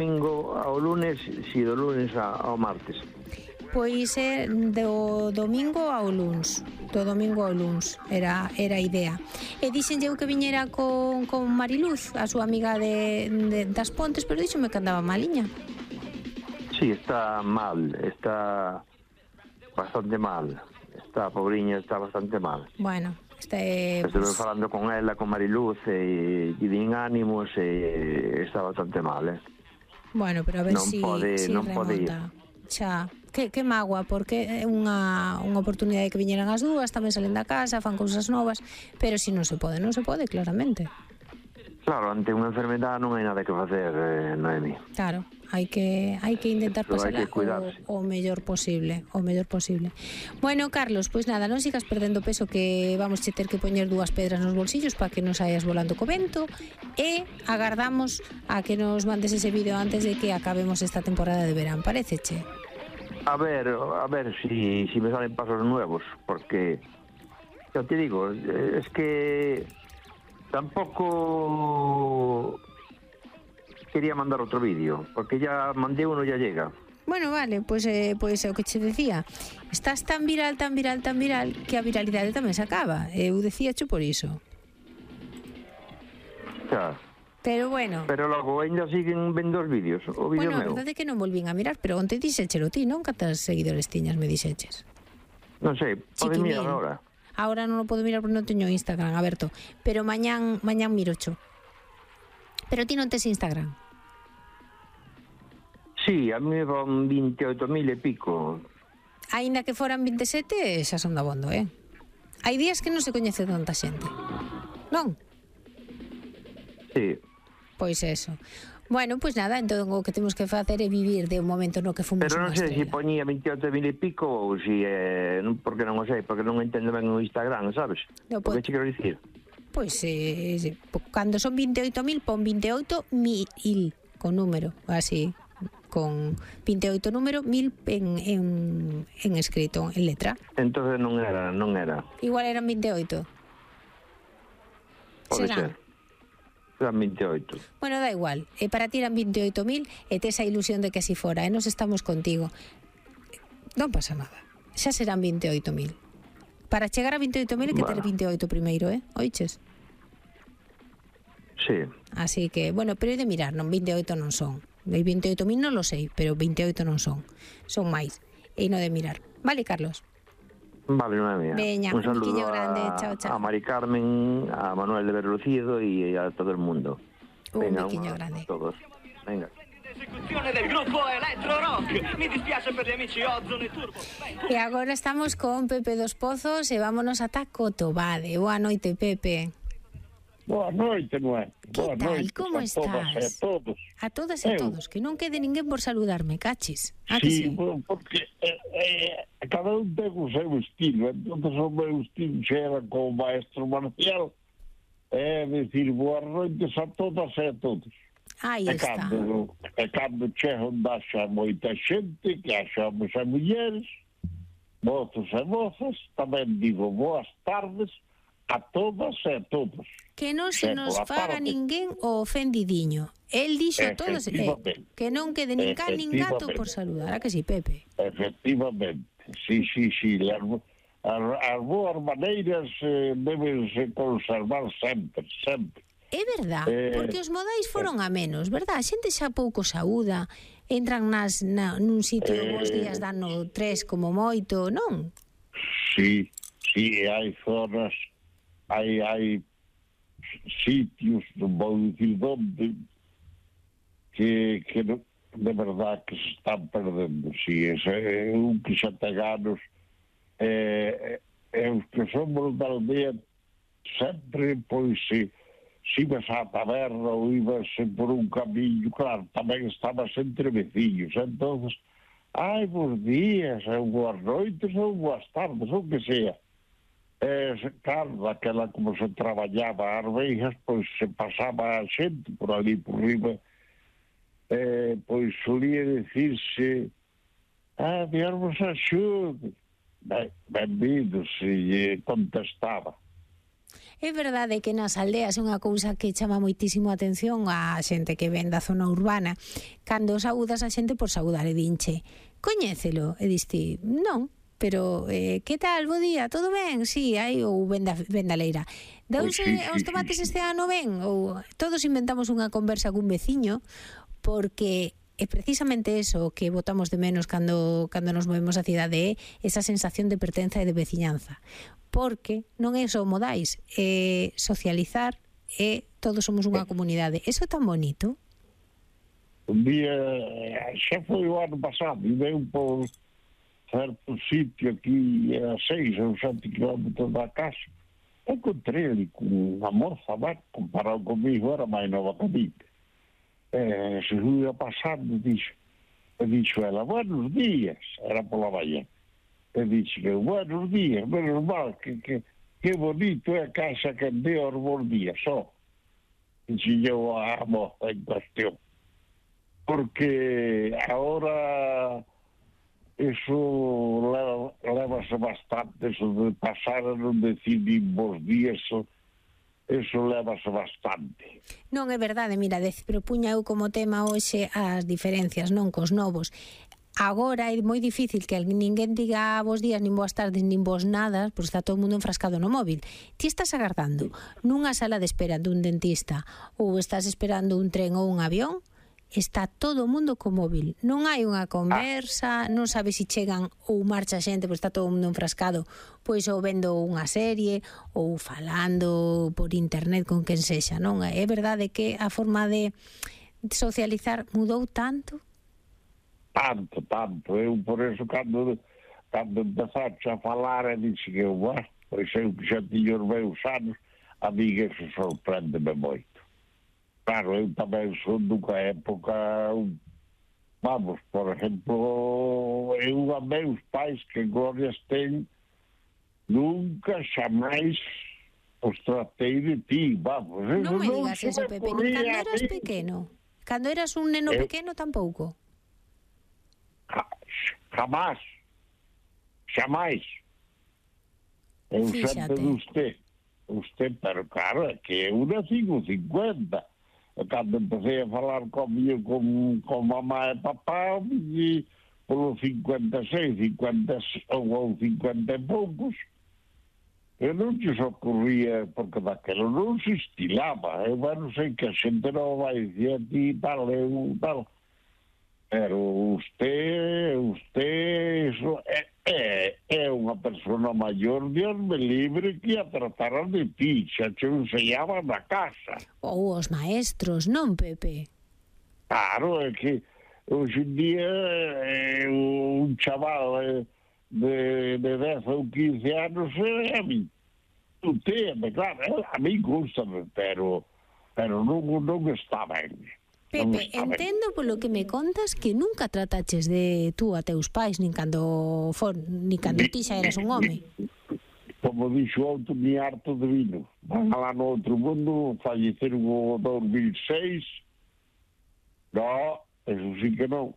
domingo ao lunes, si do lunes ao martes. Pois é do domingo ao luns. Do domingo ao luns era a idea. E dixenlle eu que viñera con Mariluz, a súa amiga das Pontes, pero díxome que andaba maliña. Sí, está mal, está bastante mal. Está, pobriña, está bastante mal. Bueno, estuve falando con ela, con Mariluz, e din ánimos, e está bastante mal, Bueno, pero a ver si remonta. Xa, que magua, porque é unha oportunidade que viñeran as dúas, tamén salen da casa, fan cousas novas, pero si non se pode, claramente. Claro, ante unha enfermedade non hai nada que facer, Noemi. Claro, hai que intentar pasarla o mellor posible, Bueno, Carlos, pois nada, non sigas perdendo peso, que vamos ter que poñer 2 pedras nos bolsillos para que non saias volando co vento, e agardamos a que nos mandes ese vídeo antes de que acabemos esta temporada de verán, paréceche? A ver si me salen pasos nuevos, porque yo te digo, es que tampoco quería mandar otro vídeo, porque ya mandé uno, ya llega. Bueno, vale, pois é o que che decía. Estás tan viral, que a viralidade tamén se acaba. Eu decíacho por iso. Xa. Pero bueno. Pero logo ainda siguen vendo os vídeos, o vídeo meu. Bueno, a verdade é que non volvín a mirar, pero onte dixéchelo ti, non? Cantas seguidores tiñas, me dixeches? Non sei, podes mirar agora. Ahora non o podo mirar porque non teño Instagram aberto, pero mañán mirocho. Pero ti non tes Instagram? Sí, a mí van 28.000 e pico. Aínda que foran 27, xa son dabondo, Hai días que non se coñece tanta xente, non? Sí. Pois eso. Bueno, pois nada, entón o que temos que facer é vivir de un momento no que fomos pero non sei se poñía 28.000 e pico ou si porque non o sei, porque non entendo ben o Instagram, sabes? O que che quero dicir? Pois cando son 28.000 pon 28.000 con número, así, con 28 número, 1.000 en escrito, en letra. Entonces non era. Igual eran 28. Pode ser. Eran 28. Bueno, da igual, para ti eran 28.000 e tes a ilusión de que así fora, nos estamos contigo. Non pasa nada, xa serán 28.000. Para chegar a 28.000 hai que ter 28 primeiro, oiches? Sí. Así que, bueno, pero hai de mirar, non, 28 non son. 28.000 non lo sei, pero 28 non son. Son máis, e non de mirar. Vale, Carlos? Vale, una mía. Veña, un saludo grande, chao. A Mari Carmen, a Manuel de Berlucido y a todo el mundo. Venga, un grande. A todos. Venga. Esecuzione del gruppo Electro Rock. Mi dispiace per gli amici Ozone e Turbo. E agora estamos con Pepe dos Pozos e vámonos ata Cotobade. Boa noite, Pepe. Boa noite, Noé. Que tal? Como estás? A todas e todos. Que non quede ninguén por saludarme, cachis. Sí, porque cada un ten o seu estilo. Entón, o meu estilo xa era como maestro marcial. É dicir, boas noites a todas e a todos. Aí está. Cando chego daxa moita xente, que achamos a mulleres, mozos e mozas, tamén digo boas tardes a todas e a todos. Que non se nos faga ninguén o ofendidiño. El dixo a todos que non quede nin can nin gato por saludar. A que si, Pepe? Efectivamente. Sí. As boas maneiras debense conservar sempre. É verdad, porque os modais foron a menos, verdad? A xente xa pouco saúda, entran nun sitio bons días dano 3 como moito, non? Sí, hai zonas, hai sitios, non vou dicir onde, que de verdad que se están perdendo. Si, un que xa ten anos, os que somos da aldea, sempre, pois, se ibas á taberna ou ibas por un camiño, claro, tamén estabas entre veciños, entonces, bons días, ou boas noites, ou boas tardes, ou que sea. Claro, daquela como se traballaba as veijas, pois se pasaba a xente por ali por riba, pois solía dicirse Dios vos axude, benvidos, e contestaba. É verdade que nas aldeas é unha cousa que chama moitísimo a atención a xente que ven da zona urbana. Cando saúdas a xente por saudar e dinche, coñécelo, e diste, non, pero que tal, bo día, todo ben? Si, hai, ou venda leira. Deuse os tomates este ano ben? Ou todos inventamos unha conversa cun veciño, porque é precisamente eso que botamos de menos cando nos movemos a cidade, é esa sensación de pertenza e de veciñanza. Porque non é só modais, é socializar, e todos somos unha comunidade. Eso é tan bonito. Un día, xa foi o ano pasado, e veio por certo sitio aquí a 6 ou 7 kilómetros da casa. Encontrei ali con unha morza, comparado comigo, era máis nova que mí. Se ia pasando, dixo ela, buenos días, era pola mañá. E dixo, buenos días, menos mal, que bonito é a casa que ande aos bons días, só. Dixo eu a moza en cuestión. Porque agora eso levase bastante, eso de pasar a non decir nin bons días, eso levase bastante. Non é verdade, mira, propuña eu como tema hoxe as diferencias, non cos novos. Agora é moi difícil que ninguén diga bos días, nin boas tardes, nin bos nada, porque está todo o mundo enfrascado no móvil. Ti estás agardando nunha sala de espera dun dentista ou estás esperando un tren ou un avión, está todo o mundo co móvil. Non hai unha conversa, non sabes se chegan ou marcha xente, porque está todo o mundo enfrascado, pois ou vendo unha serie ou falando por internet con quen sexa, non? É verdade que a forma de socializar mudou tanto? Tanto. Eu, por eso, cando empezaste a falar, dixo que pois eu que xa tiño os meus anos, a mí que se sorprende-me moito. Claro, eu tamén son dunha época, vamos, por exemplo, eu a meus pais, que glorias ten, nunca xamais os tratei de ti, vamos. Non me digas eso, Pepe, ni cando eras pequeno. Cando eras un neno pequeno, tampouco. Xamais. Eu sempre de usted, pero claro, é que eu nací con 50. Cando empecé a falar comigo con mamá e papá, e polo 56, 50 ou 50 e poucos, eu non te ocurría, porque daquilo non se estilaba. Eu non sei que a xente non vai dicir a ti tal, eu tal. Pero usted eso é unha persona maior, Dios me libre, que a trataran de ti, xa te enseñaban na casa. Ou os maestros, non, Pepe? Claro, é que hoxe en día un chaval de 10 ou 15 anos a mí claro, a mí gústame, pero non está ben. Pepe, entendo polo que me contas que nunca trataches de tú a teus pais, nin cando ti xa eras un home. Como dixo outro, ni harto de vino. Van lá no outro mundo, falleceron o 2006. No, eso sí que non.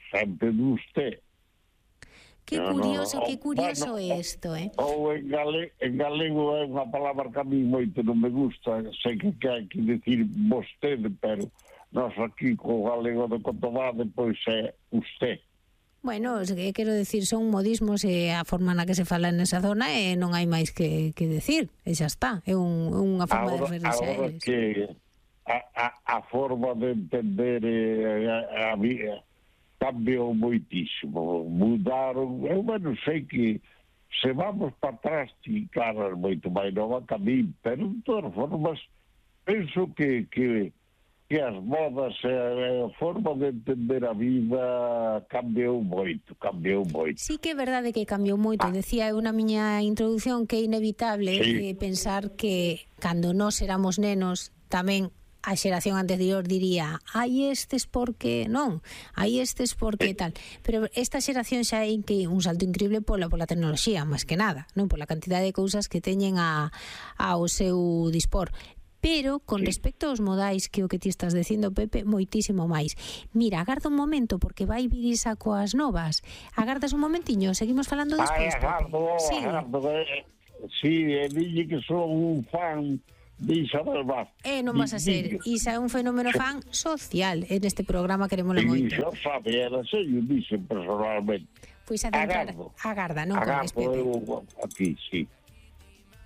Sempre de usted. Que curioso é isto, Ou en galego é unha palabra que a mí moito non me gusta. Sei que hai que decir vostede, pero nós aquí co galego de Cotobade pois é usted. Bueno, quero decir, son modismos e a forma na que se fala nesa zona e non hai máis que decir, e xa está, é unha forma de referirse a eles. Que a forma de entender a vida cambiou moitísimo, mudaron. Eu non sei que se vamos para atrás, ti, claro, moito máis nova que a mí, pero de todas formas penso que as modas e a forma de entender a vida cambiou moito. Sí que é verdade que cambiou moito. Decía eu na miña introducción que é inevitable pensar que cando nós éramos nenos tamén a xeración anterior diría hai estes porque non, hai estes porque tal, pero esta xeración xa é que un salto increíble pola tecnoloxía, máis que nada, non pola cantidade de cousas que teñen ao seu dispor. Pero, con respecto aos modais, que o que ti estás dicindo, Pepe, moitísimo máis. Mira, agarda un momento, porque vai vir Isa coas novas. Agardas un momentiño, seguimos falando despois, Pepe. Agardo. Sí, dille que son un fan de Isabel Vázquez. Non vas a ser. Isa é un fenómeno fan social. En este programa querémosla moito. Iso sabe, era se yo dixen personalmente. Pois agarda, non corres, Pepe. Agardo aquí, sí.